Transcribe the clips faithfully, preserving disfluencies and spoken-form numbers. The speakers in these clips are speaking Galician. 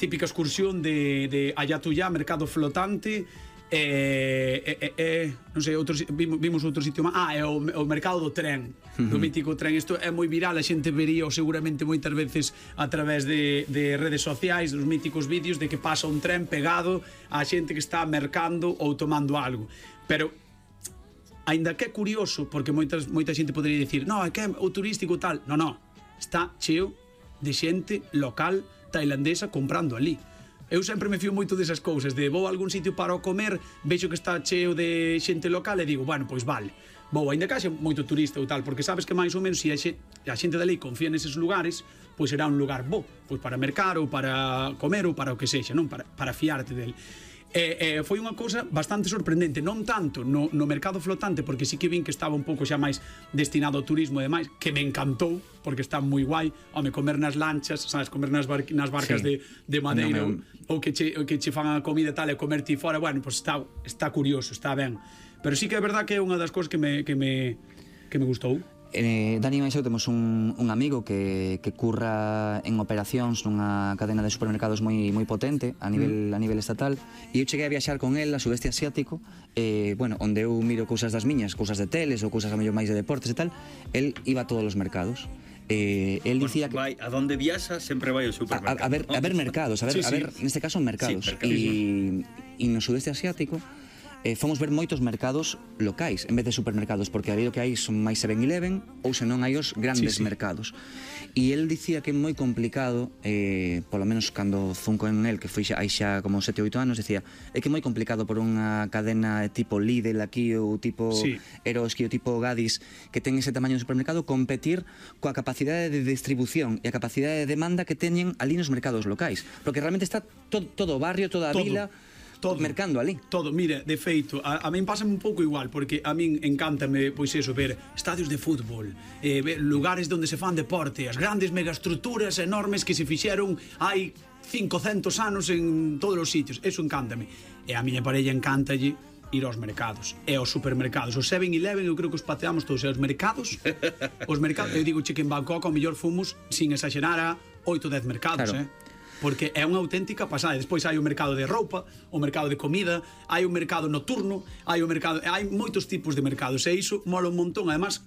típica excursión de, de Ayatuyá, mercado flotante, e, e, e non sei, outro, vimos, vimos outro sitio máis. Ah, é o, o mercado do tren, uh-huh. do mítico tren. Isto é moi viral, a xente vería seguramente moitas veces a través de, de redes sociais, dos míticos vídeos de que pasa un tren pegado a xente que está mercando ou tomando algo. Pero aínda que é curioso, porque moitas, moita xente podería dicir, no, é que é o turístico tal. No, no, está cheo de xente local tailandesa comprando ali. Eu sempre me fío moito desas cousas, de vou a algún sitio para o comer, vexo que está cheo de xente local e digo, bueno, pois vale, vou, ainda que haxe moito turista ou tal, porque sabes que máis ou menos se a xente dali confía neses lugares, pois será un lugar bo, pois para mercar ou para comer ou para o que sexa, non? Para, para fiarte del. E, e foi unha cousa bastante sorprendente, non tanto no, no mercado flotante, porque sí que vin que estaba un pouco xa máis destinado ao turismo e demais, que me encantou, porque está moi guai, home, comer nas lanchas, sabes, comer nas, bar nas barcas sí. de, de madeira, no, me... ou, ou que che, que che fan a comida tal e comer ti fora, bueno, pues está, está curioso, está ben. Pero sí que é verdad que é unha das cousas que me, que me, que me gustou. Eh, Dani e eu temos un, un amigo que, que curra en operacións nunha cadena de supermercados moi moi potente a nivel, mm. a nivel estatal, e eu cheguei a viaxar con el a sudeste asiático, eh, bueno, onde eu miro cousas das miñas, cousas de teles ou cousas a mellor máis de deportes e tal. El iba a todos os mercados. Eh, él dicía que vai, a donde viaxa sempre vai ao supermercado. A, a, ver, a ver mercados, a ver, sí, sí. a ver, neste caso mercados. Sí, e, e no sudeste asiático Eh, fomos ver moitos mercados locais en vez de supermercados, porque ali o que hai son máis seven eleven ou senón hai os grandes sí, sí. mercados. E el dicía que é moi complicado, eh, polo menos cando zunco en el, que foi xa, hai xa como sete oito anos, dicía, é que é moi complicado por unha cadena tipo Lidl aquí ou tipo sí. Eroski ou tipo Gadis, que ten ese tamaño de supermercado, competir coa capacidade de distribución e a capacidade de demanda que teñen ali nos mercados locais, porque realmente está todo, todo o barrio, toda a todo. vila todo, mercando ali. Todo, mira, de feito, a, a min pásame un pouco igual, porque a min encántame, pois eso, ver estadios de fútbol, eh, ver lugares onde se fan deporte, as grandes megaestruturas enormes que se fixeron hai cincocentos anos en todos os sitios, eso encántame. E a miña parella encántalle ir aos mercados e aos supermercados. Os seven eleven eu creo que os pateamos todos, e os mercados, os mercados, eu digo che que en Bangkok ao mellor fomos, sin exagerar, a oito dez mercados, claro. eh? Porque é unha auténtica pasada. Despois hai o mercado de roupa, o mercado de comida, hai o mercado nocturno, hai o mercado, hai moitos tipos de mercados, e iso mola un montón. Además,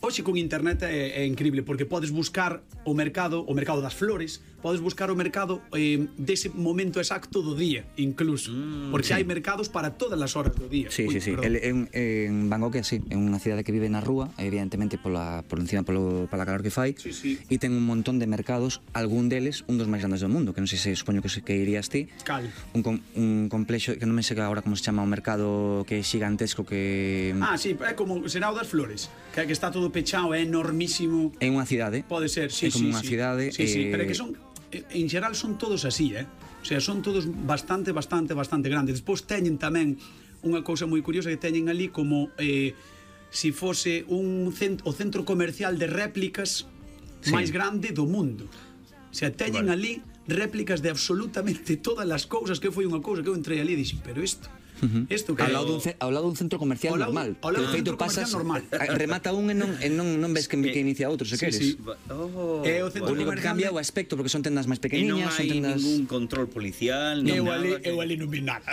hoxe con internet é, é increíble, porque podes buscar o mercado, o mercado das flores, podes buscar o mercado eh, dese momento exacto do día, incluso, mm, porque sí. hai mercados para todas as horas do día. Sí, Uy, sí, sí. El, en, en Bangkok é así, é unha cidade que vive na rúa, evidentemente pola, por encima polo, pola calor que fai, sí, sí. e ten un montón de mercados, algún deles, un dos máis grandes do mundo, que non sei se supoño que, que irías ti. Cal? Un, un complexo, que non me sei agora como se chama, un mercado que é xigantesco que... Ah, sí, é como será o das flores, que, que está todo pechado, é enormísimo. É unha cidade. Pode ser, sí, é como sí, unha sí. cidade. Sí, eh... sí, pero é que son, en xeral son todos así, eh? O sea, son todos bastante, bastante, bastante grandes. Despois teñen tamén unha cousa moi curiosa, que teñen ali como eh, si fose un cent o centro comercial de réplicas sí. máis grande do mundo. O sea, teñen vale. ali réplicas de absolutamente todas as cousas, que foi unha cousa que eu entrei ali e dixen, pero isto... Uh-huh. Esto que ao, lado dun, ao lado dun centro comercial lado, normal, ao lado que de feito pasas normal. remata un e non, e non, non ves que, que inicia outro, se sí, queres. Sí. Oh. E o centro o único que cambia o aspecto, porque son tendas máis pequeniñas, son tendas... ningún control policial, non eu nada. Ali, que... Eu ali non vi nada.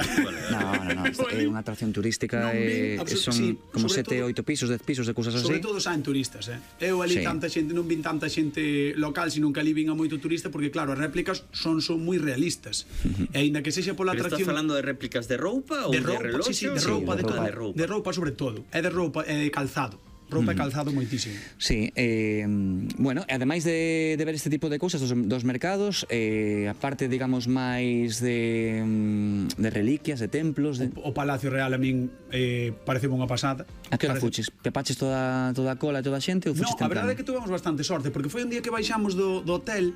No, no, no, é unha atracción turística, e son sí, como sete, oito pisos, dez pisos de cousas así. Sobre todo saen turistas, eh. Eu ali sí. tanta xente, non vin tanta xente local, sino que ali vin a moito turista, porque claro, as réplicas son son moi realistas. Uh-huh. E aínda que sexa pola Pero atracción... estás falando de réplicas de roupa ou de, roupa, de relóxio? Sí, sí, de roupa, sí, de, de, roupa. Roupa. De roupa sobre todo. É de roupa e de calzado. Roupa e calzado moitísimo. Sí, eh, bueno, ademais de, de ver este tipo de cousas dos, dos mercados, eh, a parte, digamos, máis de, de reliquias, de templos... De... O, o Palacio Real a min eh, parece unha pasada. A que hora parece... fuches? Pepaches toda, toda a cola e toda a xente ou fuches no, temprano? A verdade é que tuvemos bastante sorte, porque foi un día que baixamos do, do hotel,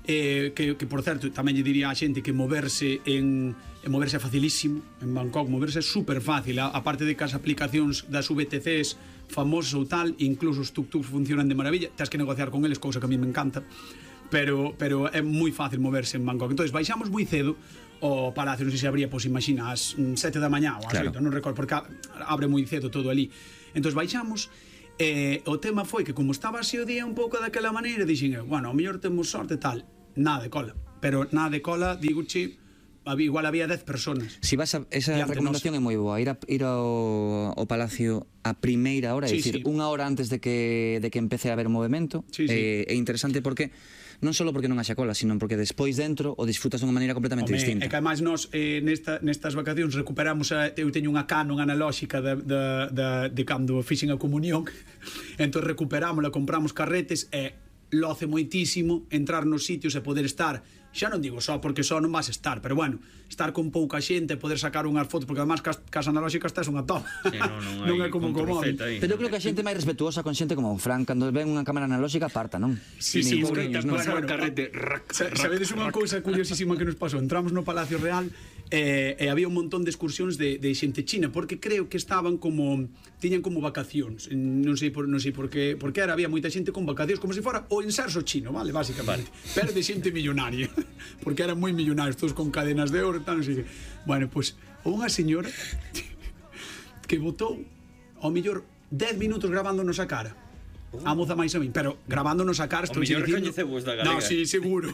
eh, que, que, por certo, tamén lle diría a xente que moverse en... en moverse é facilísimo, en Bangkok moverse é super fácil, a, a parte de que as aplicacións das V T Cs famosas ou tal, incluso os tuk-tuks funcionan de maravilla, tens que negociar con eles, cousa que a mí me encanta, pero, pero é moi fácil moverse en Bangkok. Entón, baixamos moi cedo o palacio, non sei se abría, pois imagina, ás sete da mañá ou ás claro. oito, non recordo, porque abre moi cedo todo ali. Entón, baixamos, e o tema foi que como estaba así o día un pouco daquela maneira, dixen eu, bueno, ao mellor temos sorte tal, nada de cola. pero na de cola, digo, che, igual había dez personas. Si vas a, esa recomendación é moi boa, ir, a, ir ao, ao Palacio a primeira hora, é sí, dicir, sí. unha hora antes de que, de que empece a haber movimento, sí, sí. Eh, é interesante porque non só porque non haxa cola, sino porque despois dentro o disfrutas dunha maneira completamente Home, distinta. É que ademais nós eh, nesta, nestas vacacións recuperamos a, eu teño unha Canon analóxica de, de, de, de cando fixen a comunión entón recuperámola, compramos carretes e loce moitísimo entrar nos sitios e poder estar, xa non digo só porque só non vas estar, pero bueno, estar con pouca xente, poder sacar unhas fotos, porque además cas, cas analóxicas tes unha toma. Sí, non, non, non é como co móvil. Pero eu creo que a xente máis respetuosa con xente como Fran, cando ven unha cámara analóxica aparta, non? Sí, sí, Nin escoita, pobriños, non? bueno, bueno, carrete, rac, sa- sabedes unha cousa curiosísima que nos pasou? Entramos no Palacio Real e, e había un montón de excursións de, de xente china, porque creo que estaban como tiñan como vacacións, non sei por non sei por que, porque era había moita xente con vacacións como se fora o inserso chino, vale, básicamente. Vale. Pero de xente millonaria, porque eran moi millonarios, todos con cadenas de oro, tal, non sei que. Bueno, pois pues, unha señora que botou ao mellor dez minutos grabándonos a cara. A moza máis a min, pero grabándonos a cara, estou mellor dicindo. recoñecevos da galega. No, sí, seguro.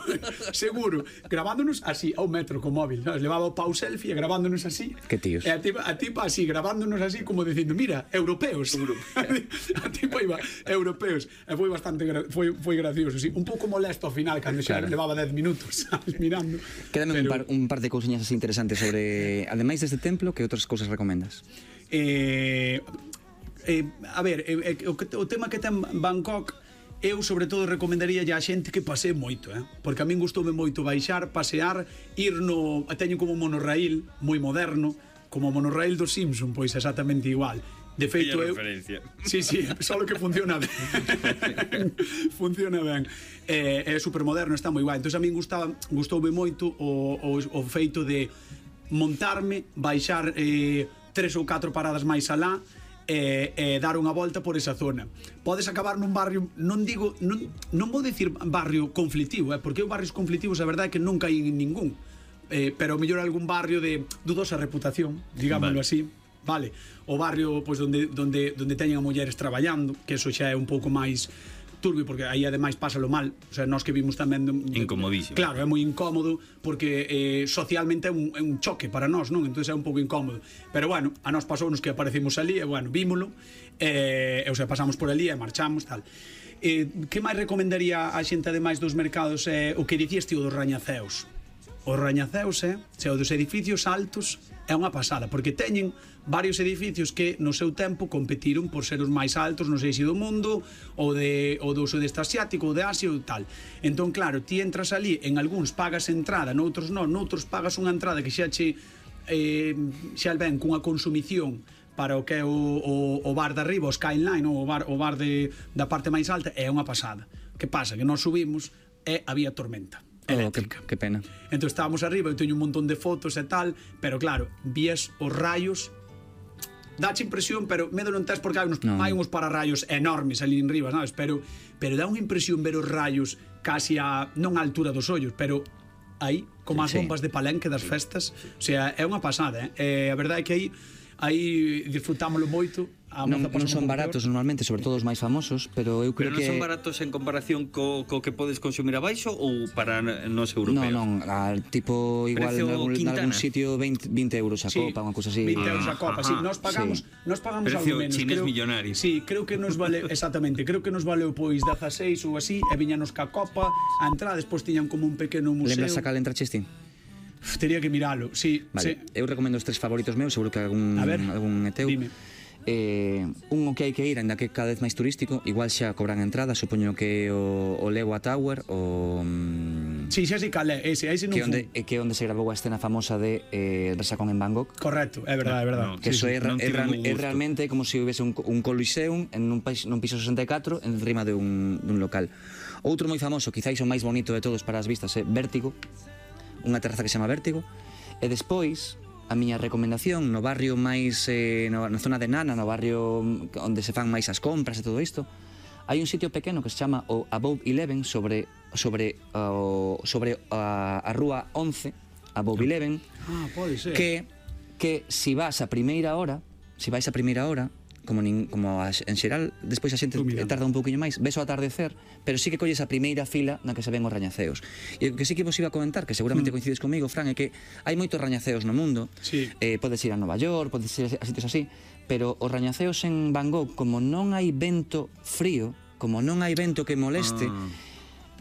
Seguro. Grabándonos así ao metro co móvil, sabes? Levaba o pau selfie e grabándonos así. Que tíos. E a tipa, a tipa así grabándonos así como dicindo, mira, europeos. A tipa iba europeos. E foi bastante gra foi foi gracioso, sí. Un pouco molesto ao final cando xa Claro. levaba dez minutos, sabes, mirando. Quédame Pero- un, par, un par de cousiñas así interesantes sobre, ademais deste templo, que outras cousas recomendas? Eh, eh, a ver, eh, eh, o, que, o tema que ten Bangkok, eu sobre todo recomendaría a xente que pasee moito, eh? Porque a min gustoume moito baixar, pasear, ir no, teño como un monorraíl moi moderno, como o monorraíl do Simpson, pois exactamente igual. De feito Bella eu referencia. Sí, sí, só que funciona ben. Funciona ben. É, é supermoderno, está moi guai. Entón a min gustaba, gustoume moito o, o, o feito de montarme, baixar eh, tres ou catro paradas máis alá e, e dar unha volta por esa zona. Podes acabar nun barrio, non digo, non, non vou dicir barrio conflictivo, eh, porque os barrios conflictivos a verdade é que nunca hai ningún, eh, pero mellor algún barrio de dudosa reputación, digámoslo Vale. así. Vale, o barrio pois donde donde donde teñen a mulleres traballando, que eso xa é un pouco máis turbio, porque aí ademais pásalo mal, o sea, nós que vimos tamén de, Incomodísimo. Claro, é moi incómodo porque eh, socialmente é un, é un choque para nós, non? Entón é un pouco incómodo. Pero bueno, a nós pasounos que aparecimos ali e bueno, vímolo, eh, e, o sea, pasamos por ali e marchamos, tal. Eh, que máis recomendaría a xente ademais dos mercados é eh, o que dicías ti o dos rañaceos. Os rañaceos, eh, xa o dos edificios altos é unha pasada, porque teñen varios edificios que no seu tempo competiron por ser os máis altos, non sei se do mundo ou de ou do sudeste asiático ou de Asia ou tal. Entón, claro, ti entras ali, en algúns pagas entrada, noutros non, noutros pagas unha entrada que xa che eh, xa ven cunha consumición para o que é o, o, o bar de arriba, o Skyline, ou o bar, o bar de, da parte máis alta, é unha pasada. Que pasa? Que nós subimos e había tormenta eléctrica. Oh, que, que pena. Entón estábamos arriba, eu teño un montón de fotos e tal, pero claro, vías os rayos, dache impresión, pero medo non tes porque hai uns, No. hai uns pararrayos enormes ali en riba, sabes? Pero, pero dá unha impresión ver os rayos casi a, non á altura dos ollos, pero aí, como as Sí. bombas de Palenque das festas, o sea, é unha pasada, eh? E a verdade é que aí aí disfrutámolo moito. A Non, moza pasou non son un pouco baratos peor. normalmente, sobre todo os máis famosos, pero eu creo Pero non que son baratos en comparación co, co que podes consumir abaixo ou para nos europeos? Non, non, a, tipo igual Precio en algún, en Quintana. algún sitio veinte, veinte euros a Sí, copa, unha cousa así. veinte euros a copa, sí, Ajá, nos pagamos, sí. nos pagamos Precio algo menos. chinés creo, millonario. Sí, creo que nos vale, exactamente, creo que nos valeu pois dieciséis ou así, e viñanos ca copa, a entrada, despois tiñan como un pequeno museo. Lembras a cal entraches ti? Uf, tería que miralo, sí, Vale, sí. eu recomendo os tres favoritos meus, seguro que algún, A ver, algún é teu. dime. Eh, un o que hai que ir, ainda que cada vez máis turístico, igual xa cobran entrada, supoño que o, o Lewa Tower, o... mm, Sí, xa sí calé, ese, ese non que onde, fun. eh, que onde se grabou a escena famosa de eh, Resacón en Bangkok. Correcto, é verdade, é verdade. No, Que Sí, eso sí. é, ra- non é, tiven ra- un é gusto. realmente como se si houvese un, un coliseum en un, país, nun piso sesenta e catro en rima de un, dun local. Outro moi famoso, quizáis o máis bonito de todos para as vistas, é Vértigo, unha terraza que se chama Vértigo, e despois a miña recomendación no barrio máis eh, no, na zona de Nana, no barrio onde se fan máis as compras e todo isto, hai un sitio pequeno que se chama o Above Eleven sobre sobre uh, sobre a, a rúa once, Above Eleven, Ah, pode ser. que que si vas a primeira hora, si vais a primeira hora, como, nin, como a, en xeral, despois a xente tarda un pouquiño máis, ves o atardecer, pero sí que colles a primeira fila na que se ven os rañaceos. E o que sí que vos iba a comentar, que seguramente mm. coincides comigo, Fran, é que hai moitos rañaceos no mundo, sí. eh, podes ir a Nova York, podes ir a sitios así, pero os rañaceos en Van Gogh, como non hai vento frío, como non hai vento que moleste, ah.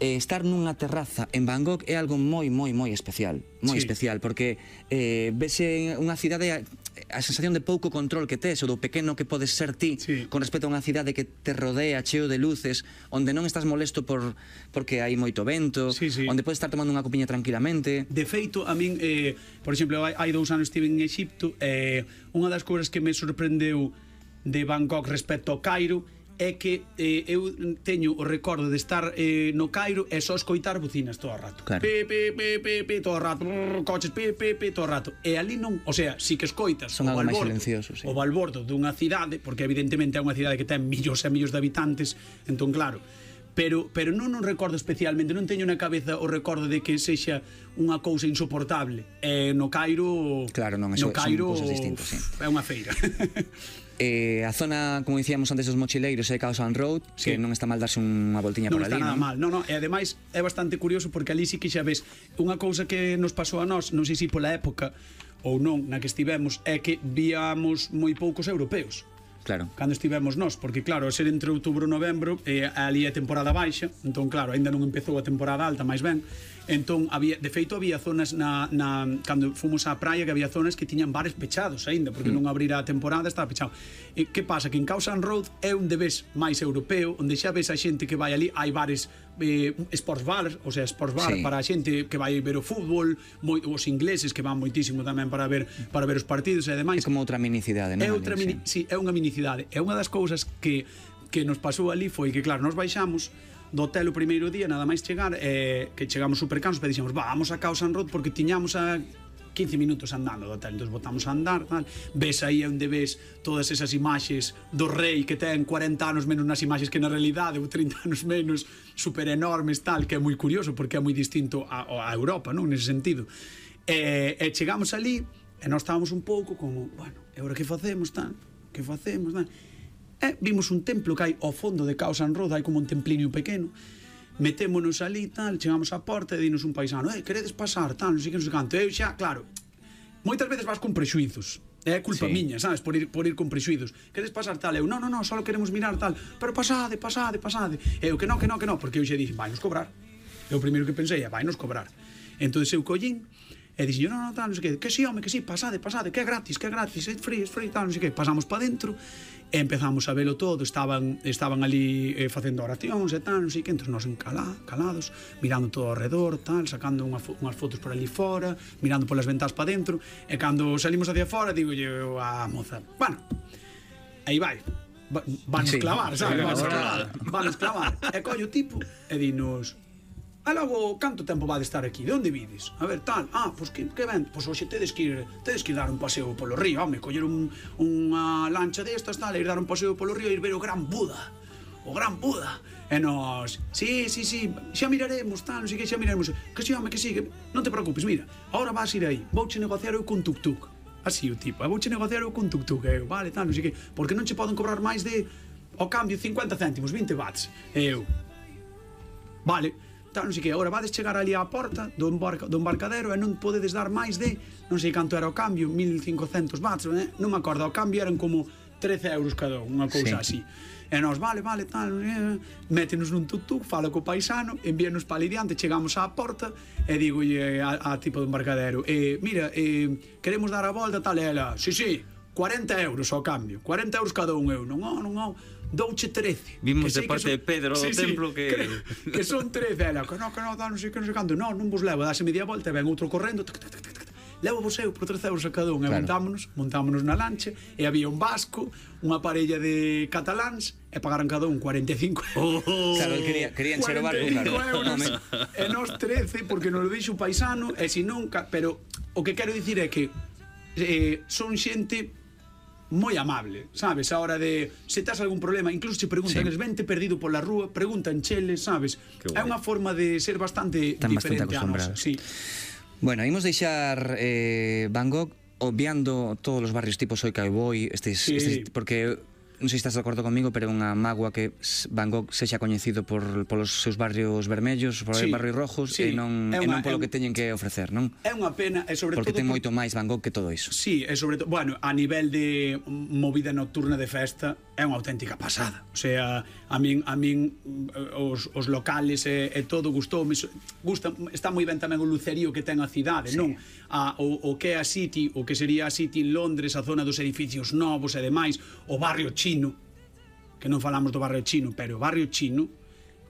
eh, estar nunha terraza en Van Gogh é algo moi, moi, moi especial, moi sí. especial, porque eh, vese unha cidade, a, a sensación de pouco control que tes, ou do pequeno que podes ser ti, sí. con respecto a unha cidade que te rodea cheo de luces, onde non estás molesto por porque hai moito vento, sí, sí. onde podes estar tomando unha copiña tranquilamente. De feito, a min, eh, por exemplo, hai, hai dous anos estive en Egipto, eh, unha das cousas que me sorprendeu de Van Gogh respecto ao Cairo é que eh, eu teño o recordo de estar eh, no Cairo e só escoitar bucinas todo o rato. Claro. Pe, pe, pe, pe, pe, todo o rato, brrr, coches, pe, pe, pe, todo o rato. E ali non, o sea, si que escoitas son o balbordo, silencioso, sí. o balbordo dunha cidade, porque evidentemente é unha cidade que ten millóns e millóns de habitantes, entón claro, pero pero non non recordo especialmente, non teño na cabeza o recordo de que sexa unha cousa insoportable. E no Cairo, claro, non, eso, no Cairo son cousas distintas, sí. É unha feira. Eh, a zona, como dicíamos antes, dos mochileiros é Cowsand Road, sí. que non está mal darse unha voltiña non por ali, non está nada non? mal, non, non, e ademais é bastante curioso porque ali sí que xa ves unha cousa que nos pasou a nós, non sei se pola época ou non na que estivemos, é que víamos moi poucos europeos. Claro. Cando estivemos nós, porque claro, ser entre outubro e novembro, eh, ali é temporada baixa, entón claro, aínda non empezou a temporada alta, máis ben. Entón, había, de feito, había zonas na, na, cando fomos á praia, que había zonas que tiñan bares pechados aínda, porque mm. non abrirá a temporada, estaba pechado. E que pasa? Que en Cowsand Road é onde ves máis europeo, onde xa ves a xente que vai ali, hai bares eh, sports bar, o sea, sports bar sí. para a xente que vai ver o fútbol, moi, os ingleses que van moitísimo tamén para ver para ver os partidos e demais. É como outra minicidade, non? É outra mini, sí. sí, é unha minicidade. É unha das cousas que que nos pasou ali foi que claro, nos baixamos do hotel o primeiro día, nada máis chegar, eh, que chegamos super cansos, pero dixemos, vamos a Cowsand Road porque tiñamos a quince minutos andando do hotel, entón botamos a andar, tal. Ves aí onde ves todas esas imaxes do rei que ten cuarenta anos menos nas imaxes que na realidade, ou trinta anos menos, super enormes, tal, que é moi curioso porque é moi distinto a, a Europa, non, nese sentido. E, e chegamos ali e nós estábamos un pouco como, bueno, e agora que facemos, tal, que facemos, tal. E vimos un templo que hai ao fondo de Cowsand Road, hai como un templiño pequeno, metémonos ali, tal, chegamos á porta e dinos un paisano, eh, queredes pasar, tal, non sei que, non sei canto. Eu xa, claro, moitas veces vas con prexuizos, é culpa sí. miña, sabes, por ir, por ir con prexuizos. Queredes pasar tal? Eu, non, non, non, só queremos mirar tal, pero pasade, pasade, pasade. Eu, que non, que non, que non, porque eu xa dixen, vai nos cobrar. Eu o primeiro que pensei é, vai nos cobrar. Entón eu collín, e dixen, non, non, tal, non sei que, que si, home, que si, pasade, pasade, que é gratis, que é gratis, é free, é free, tal, non sei que. Pasamos pa dentro, e empezamos a velo todo, estaban estaban ali eh, facendo oracións e tal, non sei que, entón nos encala, calados, mirando todo ao redor, tal, sacando unha fo unhas fotos por ali fora, mirando polas ventas pa dentro, e cando salimos hacia fora, digo eu a moza, bueno, aí vai, van sí, clavar, sabes, van clavar, van clavar, e collo o tipo, e dinos, e logo, canto tempo vade estar aquí? De onde vides? A ver, tal, ah, pois que, que ven? Pois hoxe tedes que ir, tedes que ir dar un paseo polo río, home, coller un, unha lancha destas, tal, e ir dar un paseo polo río e ir ver o gran Buda, o gran Buda. E nos, sí, sí, sí, xa miraremos, tal, non sei que, xa miraremos. Que si, home, que si, que non te preocupes, mira, agora vas ir aí, vouche negociar eu con tuk-tuk. Así o tipo, vouche negociar eu con tuk-tuk, eu, vale, tal, non sei que, porque non che poden cobrar máis de, ao cambio, cincuenta céntimos, vinte bahts. E eu, vale, tal, non sei que, agora vades chegar ali á porta do, embarca, do embarcadero e non podedes dar máis de, non sei canto era o cambio, mil e cincocentos bahts, eh? Non me acordo, o cambio eran como trece euros cada un, unha cousa sí. así. E nós, vale, vale, tal, eh, métenos nun tuk-tuk, fala co paisano, envíanos para ali diante, chegamos á porta e digo a, a tipo do embarcadero, eh, mira, eh, queremos dar a volta, tal, e ela, sí, sí, cuarenta euros ao cambio, cuarenta euros cada un, eu, non, non, non, douche trece. Vimos de parte de Pedro do templo que... que son trece, ela, que non, que non, non sei que non sei canto, non, non vos levo, dase media volta e ven outro correndo, tac, tac, tac, tac, levo vos eu por trece euros a cada un, e montámonos, montámonos na lancha, e había un vasco, unha parella de cataláns, e pagaran cada un cuarenta e cinco euros. Oh, claro, quería, querían ser o barco, claro. Euros, e nos trece, porque nos lo dixo o paisano, e si non, pero o que quero dicir é que eh, son xente moi amable, sabes, a hora de se tes algún problema, incluso se preguntan, sí. es vente perdido pola rúa, preguntan cheles, sabes, é unha forma de ser bastante Están diferente bastante a nosa, sí. Bueno, imos deixar eh, Van Gogh obviando todos os barrios tipo Soy Cowboy, estes, sí. estes, porque non sei se estás de acordo comigo, pero é unha mágoa que Van Gogh sexa coñecido por polos seus barrios vermellos, por sí, barrios rojos, sí, e non e non polo que teñen que ofrecer, non? É unha pena, e sobre porque todo ten moito máis Van Gogh que todo iso. Sí, e sobre todo, bueno, a nivel de movida nocturna de festa é unha auténtica pasada. O sea, a min a min os, os locales e, e todo gustoume, gusta, está moi ben tamén o lucerío que ten a cidade, sí, non? A, o, o que é a City, o que sería a City en Londres, a zona dos edificios novos e demais, o barrio chino, que non falamos do barrio chino, pero o barrio chino,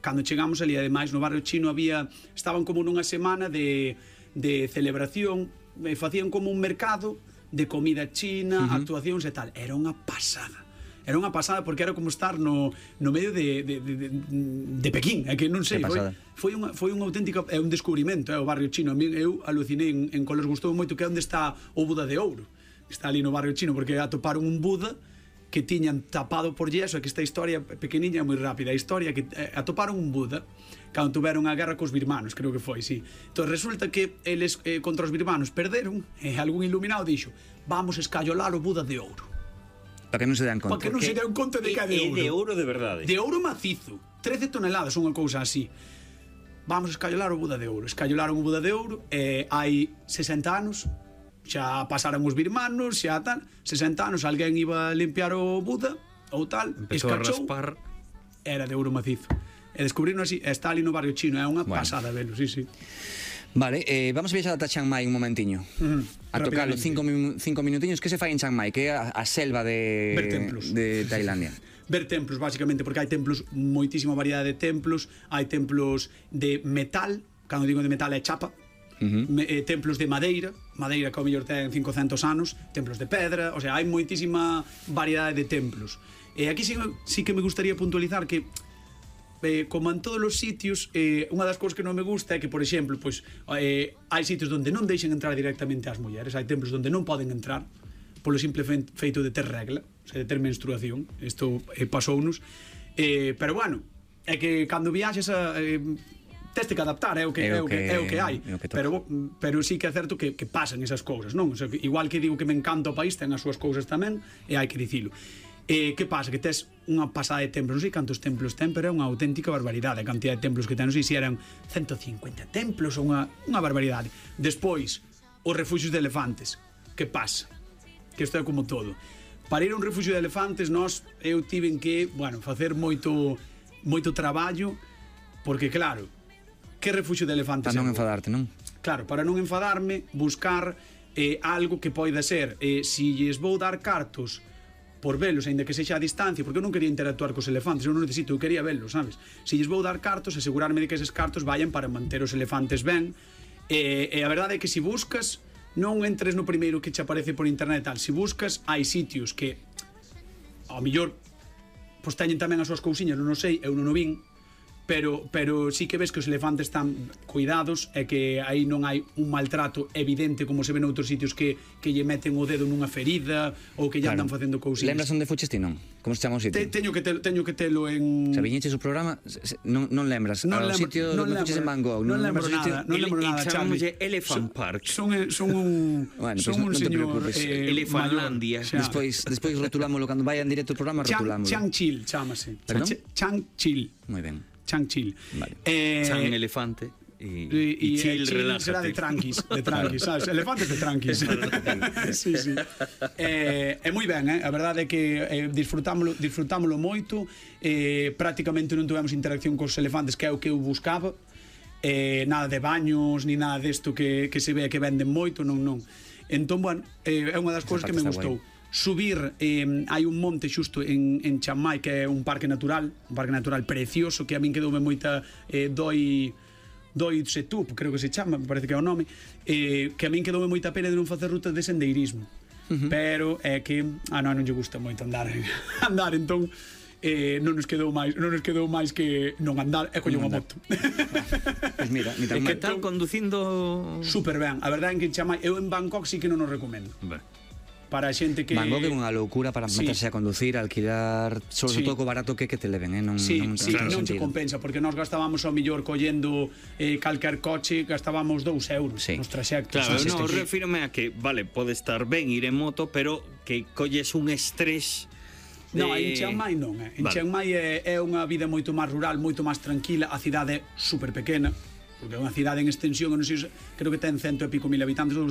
cando chegamos ali, ademais, no barrio chino había, estaban como nunha semana de, de celebración, e facían como un mercado de comida china, uh-huh, actuacións e tal. Era unha pasada. Era unha pasada porque era como estar no, no medio de, de, de, de Pequín, é que non sei, foi, foi, unha, foi unha auténtica, é un descubrimento, é o barrio chino. A mí, eu alucinei en, en Coles, gustou moito que é onde está o Buda de Ouro. Está ali no barrio chino, porque atoparon un Buda que tiñan tapado por yeso, que esta historia pequeniña é moi rápida, a historia que eh, atoparon un Buda cando tuveron a guerra cos birmanos, creo que foi, sí. Entón resulta que eles eh, contra os birmanos perderon, e eh, algún iluminado dixo, vamos escallolar o Buda de Ouro. Para que non se dan conta. Para que non se dan conta de que é de ouro. É de ouro de verdade. De ouro macizo. trece toneladas, unha cousa así. Vamos a escallolar o Buda de Ouro. Escallolaron o Buda de Ouro, e hai sesenta anos, xa pasaron os birmanos, xa tal, sesenta anos, alguén iba a limpiar o Buda, ou tal, empezou escachou, a raspar. Era de ouro macizo. E descubriron así, está ali no barrio chino, é unha bueno. pasada velo, sí, sí. Vale, eh, vamos a viaxar ata Chiang Mai un momentiño. Uh-huh. A tocar os cinco, cinco minutiños. Que se fai en Chiang Mai? Que é a, a selva de, de Tailandia. Ver templos, basicamente, porque hai templos, moitísima variedade de templos. Hai templos de metal, cando digo de metal é chapa. Uh-huh. Me, eh, templos de madeira, madeira que ao mellor ten cincocentos anos, templos de pedra, o sea, hai moitísima variedade de templos. E aquí sí, sí que me gustaría puntualizar que Eh, como en todos os sitios, eh, unha das cousas que non me gusta é que, por exemplo, pues, eh, hai sitios onde non deixen entrar directamente as mulleres, hai templos onde non poden entrar polo simple feito de ter regla, o sea, de ter menstruación. Isto eh, pasounos, eh, pero bueno, é que cando viaxes a, eh, teste que adaptar, é o que, é o que, é o que hai, o que pero, pero sí que é certo que, que pasan esas cousas, non? O sea, igual que digo que me encanta o país, ten as súas cousas tamén, e hai que dicilo. Eh, que pasa? Que tes unha pasada de templos, non sei cantos templos ten, pero é unha auténtica barbaridade a cantidad de templos que ten, non sei se eran ciento cincuenta templos ou unha, unha barbaridade. Despois, os refuxios de elefantes. Que pasa? Que isto é como todo. Para ir a un refuxio de elefantes, nós, eu tiven que, bueno, facer moito moito traballo, porque claro, que refuxio de elefantes? Para non enfadarte, non? Claro, para non enfadarme, buscar eh, algo que poida ser, eh, si lles vou dar cartos por velos, aínda que sexa a distancia, porque eu non quería interactuar cos elefantes, eu non necesito, eu quería velos, sabes? Se lles vou dar cartos, asegurarme de que eses cartos vayan para manter os elefantes ben, e, e a verdade é que se buscas, non entres no primeiro que che aparece por internet tal, se buscas, hai sitios que ao mellor pois teñen tamén as súas cousiñas, non o sei, eu non o vin, pero pero sí que ves que os elefantes están cuidados e que aí non hai un maltrato evidente como se ve noutros sitios que, que lle meten o dedo nunha ferida ou que lle claro. Andan facendo cousiñas. Lembras onde fuches ti, non? Como se chama o sitio? Te, teño, que te, teño que telo en... Se viñeches o programa, non, non lembras non o lembro, sitio non onde fuches en Van Gogh? Non, non lembro nada, non lembro nada, Charlie. Elephant Park. Son, son un, bueno, son pues un no, señor eh, Elefantlandia. Despois, despois rotulámoslo, cando vai en directo o programa, rotulámoslo. Chang Chil, chámase. Perdón? Chang Chil. Moi ben. Chang Chil. Vale. Eh, Chang elefante e, e, e Chil, Chil será de tranquis, de tranquis, sabes? Elefantes de tranquis. Sí, sí. Eh, é moi ben, eh? A verdade é que eh, disfrutámolo, disfrutámolo moito, eh, prácticamente non tivemos interacción cos elefantes, que é o que eu buscaba. Eh, nada de baños, ni nada desto que, que se ve que venden moito, non, non. Entón, bueno, eh, é unha das cousas que me gustou. Guai. Subir, eh, hai un monte xusto en, en Chiang Mai que é un parque natural, un parque natural precioso que a min quedoume moita eh, doi doi setup, creo que se chama, me parece que é o nome, eh, que a min quedoume moita pena de non facer rutas de sendeirismo. Uh-huh. Pero é que a non, non lle gusta moito andar andar, entón eh, non nos quedou máis, non nos quedou máis que non andar e coller unha moto. Pois mira, ni tan mal. Que tal conducindo? Super ben, a verdade é que en Chiang Mai, eu en Bangkok sí que non o recomendo. Ben. Para a xente que... Bangkok é unha loucura para sí. meterse a conducir, a alquilar, sobre sí. todo co barato que que te leven, eh? non, sí, non, sí, non se compensa, porque nós gastábamos ao millor collendo eh, calquer coche, gastábamos dous euros sí. nos traxectos. Claro, sí, non, refírome a que, vale, pode estar ben ir en moto, pero que colles un estrés De... No, en Chiang Mai non, eh. En Vale. Chiang Mai é, é unha vida moito máis rural, moito máis tranquila, a cidade é super pequena, porque é unha cidade en extensión, non sei, creo que ten cento e pico mil habitantes, ou